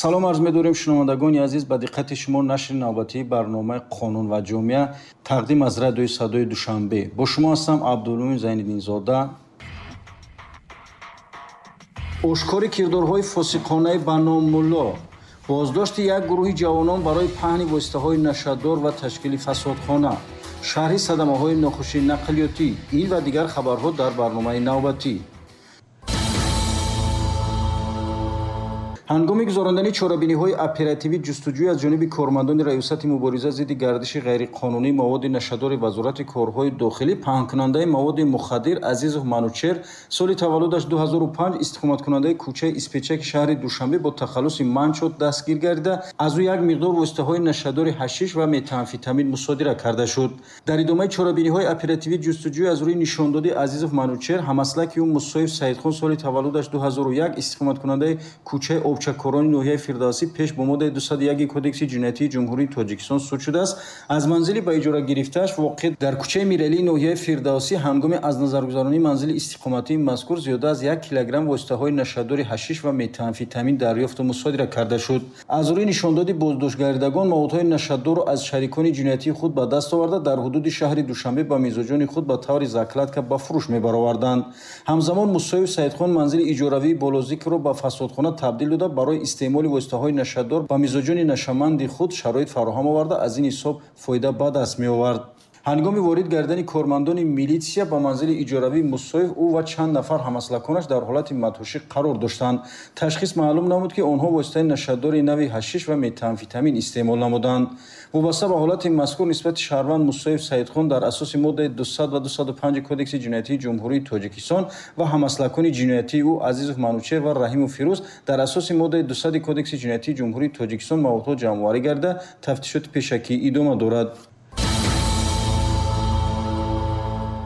Салом арз медорем, шунавандагони азиз, ба диққати шумо нашри навбатии барномаи «Қонун ва ҷомеа» тақдим аз радиои Садои Душанбе. Бо шумо ҳастам Абдулмумин Зайниддинзода. Ошкори кирдорҳои фосиқонаи ба ном Мулло, боздошти як гурӯҳи ҷавонон барои паҳни воситаҳои нашадор ва ташкили фасодхона, шарҳи садамаҳои нохуши нақлиётӣ, ин ва дигар хабарҳо дар барномаи навбатӣ. Ҳангоми гузарондани чорабиниҳои оперативӣ ҷустуҷӯй аз ҷониби кормандони Раёсати мубориза зидди гардиши ғайриқонунии маводи нашадори Вазорати корҳои дохилӣ паҳнкунандаи маводи мухаддир Азизов Манучер, соли таваллудаш 2005, истиқоматкунандаи кӯчаи Испечаки шаҳри Душанбе бо тахаллуси Манчо дастгир гардида, аз ӯ як миқдор воситаҳои нашадори ҳашиш ва метамфетамин мусодира карда шуд. Дар идомаи чорабиниҳои оперативӣ ҷустуҷӯй аз рӯи нишондоди Азизов Манучер, ҳамаслаки ӯ Мусоев Саидхон, соли таваллудаш 2001, истиқоматкунандаи кӯчаи Обчакорони ноҳияи Фирдавсӣ пеш бо моддаи 201 Кодекси ҷиноятии Ҷумҳурии Тоҷикистон суд шудааст. Аз манзили ба иҷора гирифтааш воқеъ дар кӯчаи Миралии ноҳияи Фирдавсӣ ҳангоми аз назаргузаронии манзили истиқоматии мазкур зиёда аз 1 килограмм воситаҳои нашадори ҳашиш ва метамфетамин дарёфту мусодира карда шуд. Аз рӯи нишондоди боздоштгардидагон маводҳои нашадорро аз шарикони ҷиноятии худ ба даст оварда, дар ҳудуди шаҳри Душанбе ба мизоҷони худ ба таври закладка ба фурӯш мебароварданд. Ҳамзамон Мусоев Саидхон манзили иҷоравии болозикрро ба фасодхона табдил дода, барои истеъмоли воситаҳои нашадор ба мизоҷони нашаманди худ шароит фароҳам оварда, аз ин ҳисоб фоида ба даст меовард. Ҳангоми ворид гардани кормандони милитсия ба манзили иҷоравии Мусоев, ӯ ва чанд нафар ҳамаслаконаш дар ҳолати мадҳушӣ қарор доштанд. Ташхис маълум намуд, ки онҳо воситаи нашадори нави ҳашиш ва метамфетамин истеъмол намуданд. Вобаста ба ҳолати мазкур нисбати шаҳрванд Мусоев Саидхон дар асоси моддаи 200 ва 205 Кодекси ҷиноятии Ҷумҳурии Тоҷикистон ва ҳамаслакони ҷиноятии ӯ Азизов Манучер ва Раҳимов Фирӯз дар асоси моддаи 200 Кодекси ҷиноятии Ҷумҳурии Тоҷикистон маводҳо ҷамъоварӣ гарда, тафтишоти пешакӣ идома дорад.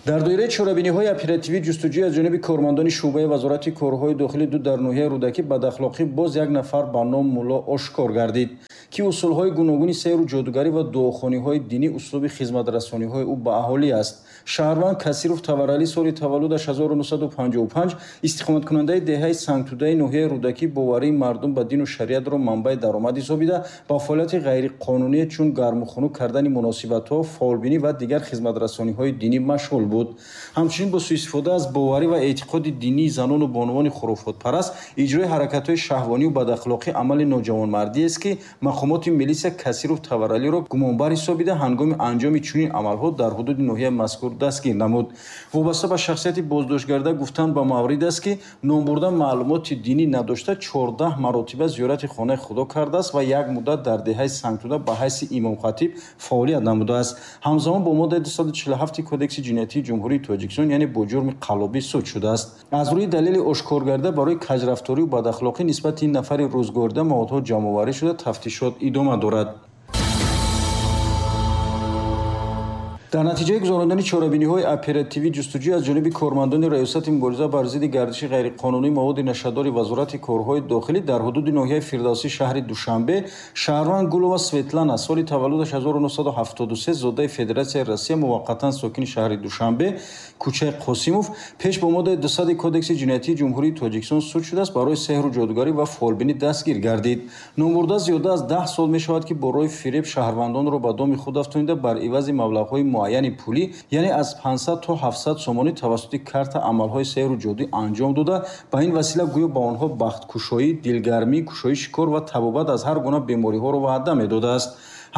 Дар доираи чорабиниҳои оперативӣ ҷустуҷӯй аз ҷониби кормандони шӯъбаи Вазорати корҳои дохилӣ ду дар ноҳияи Рӯдакӣ бадахлоқӣ боз як нафар ба ном Мулло ошкор гардид, ки усулҳои гуногуни сеҳру ҷодугарӣ ва дуохониҳои динӣ услуби хизматрасониҳои ӯ ба аҳолӣ аст. Шаҳрванд Касиров Таваралӣ, соли таваллудаш 1955, истиқоматкунандаи деҳаи Сангтудаи ноҳияи Рӯдакӣ, боварии мардум ба дину шариатро манбаи даромад ҳисобида, ба фаъолияти ғайриқонуние чун гарму хунук кардани муносибатҳо, фолбинӣ ва дигар хизматрасониҳои динӣ машғул буд. Ҳамчунин бо суистифода аз боварӣ ва эътиқоди динии занону бонувони хурофотпараст иҷрои ҳаракатҳои шаҳвонию бадахлоқӣ амали ноҷавонмардиест, ки мақомоти милитсия Касиров Таваралиро гумонбар ҳисобида, ҳангоми анҷоми чунин амалҳо дар ҳудуди ноҳияи мазкур дастгир намуд. Вобаста ба шахсияти боздоштгарда гуфтан ба маврид аст, ки номбурда маълумоти динӣ надошта, 14 маротиба зиёрати хонаи худо кардааст ва як муддат дар деҳаи Сангтуда ба ҳайси имомхатиб фаъолият намудааст. Ҳамзамон бо моддаи 247 Кодекси ҷиноятии Ҷумҳурии Тоҷикистон, яъне бо ҷурми қаллобӣ суд шудааст. Аз рӯи далели ошкоргарда барои каҷрафторию бадахлоқӣ нисбати ин нафари рӯзгорида маводҳо ҷамъоварӣ шуда, тафтишот идома дорад. Дар натиҷаи гузарондани чорабиниҳои оперативӣ ҷустуҷӯй аз ҷониби кормандони Раёсати мубориза бар зидди гардиши ғайриқонунии маводи нашадори Вазорати корҳои дохилӣ дар ҳудуди ноҳияи Фирдавсӣ шаҳри Душанбе шаҳрванд Гулова Светлана, соли таваллудаш 1973, зодаи Федератсияи Россия, муваққатан сокини шаҳри Душанбе, кӯчаи Қосимов, пеш бо моддаи 200 Кодекси ҷиноятии Ҷумҳурии Тоҷикистон суд шудааст, барои сеҳру ҷодугарӣ ва фолбинӣ дастгир гардид. Номбурда зиёда аз 10 сол мешавад, ки бо роҳи фиреб шаҳрвандонро ба доми худ афтонида, бар ивази маблағҳои муайяни пулӣ, яъне аз 500 то 700 сомонӣ, тавассути карта амалҳои сеҳру ҷодуӣ анҷом дода, ба ин васила гӯё ба онҳо бахткушоӣ, дилгармӣ, кушоиши кор ва табобат аз ҳар гуна бемориҳоро ваъда медодааст.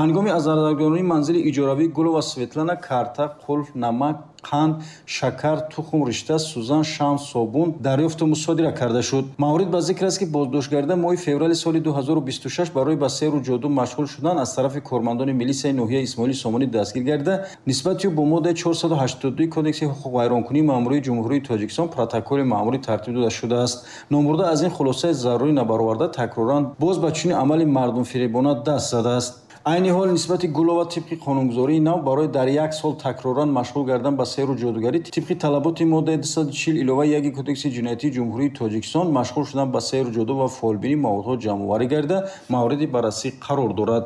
Ҳангоми аз назаргузаронии манзили иҷоравии Гулова Светлана карта, қулф, намак, қанд, шакар, тухм, ришта, сӯзан, шам, собун дарёфту мусодира карда шуд. Маврид ба зикр аст, ки боздоштгарда моҳи феврали соли 2026 барои ба сеҳру ҷоду машғул шудан аз тарафи кормандони милитсияи ноҳияи Исмоили Сомонӣ дастгир гардида, нисбати ӯ бо моддаи 482 Кодекси ҳуқуқвайронкунии маъмурии Ҷумҳурии Тоҷикистон протоколи маъмурӣ тартиб дода шудааст. Номбурда аз ин хулосаи зарурӣ набароварда, такроран боз ба чунин амали мардумфиребона даст задааст. Айни ҳол нисбати Гулова тибқи қонунгузории нав барои дар як сол такроран машғул гардан ба сеҳру ҷодугарӣ тибқи талаботи моддаи 240 илова 1 Кодекси ҷиноятии Ҷумҳурии Тоҷикистон машғул шудан ба сеҳру ҷоду ва фолбинӣ маводҳо ҷамъоварӣ гардида, мавриди баррасӣ қарор дорад.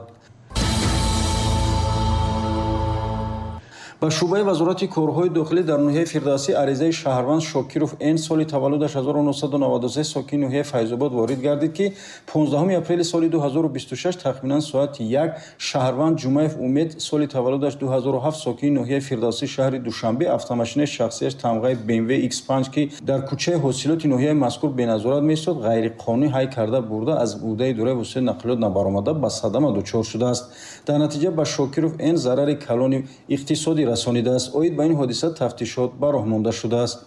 Ба шӯъбаи Вазорати корҳои дохилӣ дар ноҳияи Фирдавсӣ аризаи шаҳрванд Шокиров Н соли таваллудаш 1993 сокини ноҳияи Файзобод ворид гардид, ки 15 апрели соли 2026 тахминан соати 1 шаҳрванд Ҷумаев Умед соли таваллудаш 2007 сокини ноҳияи Фирдавсӣ шаҳри Душанбе автомошинаи шахсияш тамғаи BMW X5, ки дар кӯчаи ҳосилоти ноҳияи мазкур беназорат меистод, ғайриқонунӣ ҳай карда бурда аз ӯҳдаи идораи воситаи нақлиёт набаромада ба садама дучор шудааст. Дар натиҷа ба Шокиров Н зарари калони иқтисодӣ расонидааст. Оид ба ин ҳодиса тафтишот ба роҳ монда шудааст.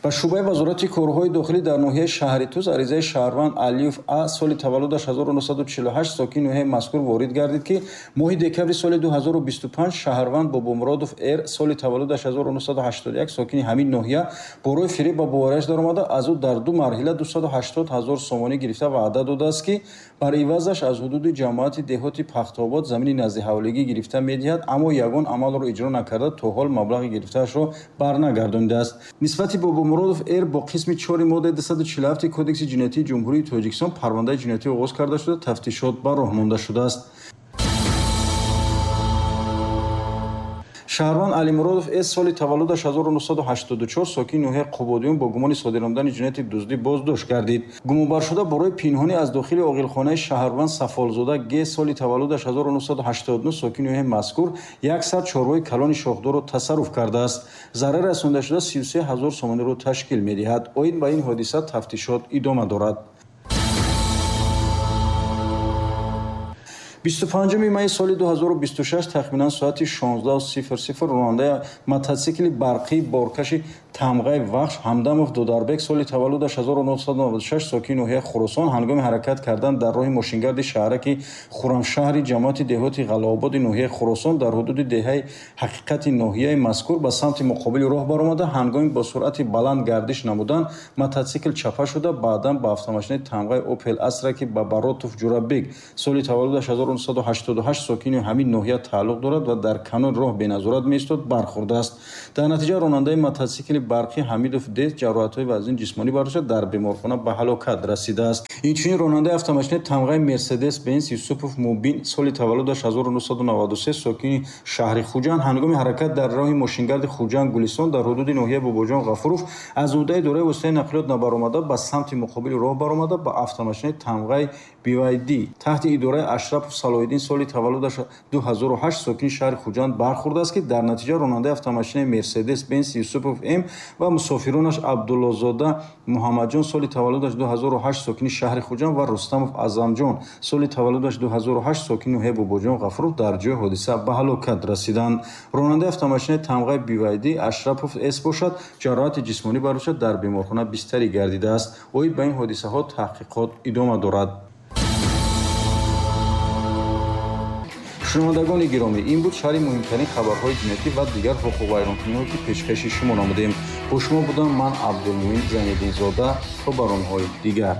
Ба шӯъбаи Вазорати корҳои дохилӣ дар ноҳияи шаҳри Туз аризаи шаҳрванд Алиев А соли таваллудаш 1948 сокини ноҳияи мазкур ворид гардид, ки моҳи декабри соли 2025 шаҳрванд Бобомуродов Р соли таваллудаш 1981 сокини ҳамин ноҳия бо роҳи фиреб ба боварияш даромада аз ӯ дар ду марҳила 280 ҳазор сомонӣ гирифта ваъда додааст, ки бар ивазаш аз ҳудуди ҷамоати деҳоти Пахтобод замини наздиҳавлигӣ гирифта медиҳад, аммо ягон амалро иҷро накарда то ҳол маблағи гирифтаашро барнагардонидааст. Нисбати Бобомуродов Р бо қисми 4 моддаи 247 Кодекси ҷиноятии Ҷумҳурии Тоҷикистон парвандаи ҷиноятӣ оғоз карда шуда, тафтишот ба роҳ монда шудааст. Шаҳрванд Алимуродов С соли таваллудаш 1984 сокини ноҳияи Қубодиён бо гумони содир намудани ҷинояти дуздӣ боздошт гардид. Гумонбаршуда барои пинҳонӣ аз дохили оғилхонаи шаҳрванд Сафолзода Г соли таваллудаш 1989 сокини ноҳияи мазкур 100 чорвои калони шохдорро тасарруф кардааст. Зарар расондашуда 33 ҳазор сомониро ташкил медиҳад. Оид ба ин ҳодиса тафтишот идома дорад. 25 майи соли 2026 тахминан соати 16:00 ронандаи мотосикли барқии боркаши тамғаи Вахш Ҳамдамов Додарбек соли таваллудаш 1996 сокини ноҳияи Хуросон ҳангоми ҳаракат кардан дар роҳи мошингарди шаҳраки Хуррамшаҳри ҷамоати деҳоти Ғалаободи ноҳияи Хуросон дар ҳудуди деҳаи Ҳақиқати ноҳияи мазкур ба самти муқобили роҳ баромада, ҳангоми бо суръати баланд гардиш намудан мотосикл чапа шуда, баъдан ба автомошинаи тамғаи Опел Астра, ки ба Баротов Ҷурабек соли таваллудаш 1988 сокини ҳамин ноҳия тааллуқ дорад ва дар канори роҳ беназорат меистод, бархӯрдааст. Дар натиҷа ронандаи мотосикли барқӣ Ҳамидов Д ҷароҳатҳои вазни ҷисмонӣ бардошта дар беморхона ба ҳалокат расидааст. Инчунин ронандаи автомошинаи тамғаи Мерседес Бенз Юсупов Мубин соли таваллудаш 1993 сокини шаҳри Хуҷанд ҳангоми ҳаракат дар роҳи мошингарди Хуҷанд Гулистон дар ҳудуди ноҳияи Бобоҷон Ғафуров аз ӯҳдаи идораи воситаи нақлиёт набаромада ба самти муқобили роҳ баромада ба автомошинаи тамғаи BYD таҳти идораи Ашрапов Салоҳиддин соли таваллудаш 2008 сокини шаҳри Хуҷанд бархӯрдааст, ки дар натиҷа ронандаи автомошинаи Мерседес Бенз Юсупов М ва мусофиронаш Абдуллозода Муҳаммадҷон соли таваллудаш 2008 сокини шаҳри Хуҷанд ва Рустамов Азамҷон соли таваллудаш 2008 сокини ноҳияи Бобоҷон Ғафуров дар ҷои ҳодиса ба ҳалокат расиданд. Ронандаи автомошинаи тамғаи BYD Ашрапов С бошад, ҷароҳати ҷисмонӣ бардошта дар беморхона бистарӣ гардидааст. Оид ба ин ҳодисаҳо таҳқиқот идома дорад. Шунавандагони гиромӣ, ин буд шарҳи муҳимтарин хабарҳои ҷиноятӣ ва дигар ҳуқуқвайронкуниҳо, ки пешкаши шумо намудем. Бо шумо будам ман Абдулмуин Зайниддинзода. То барномаҳои дигар.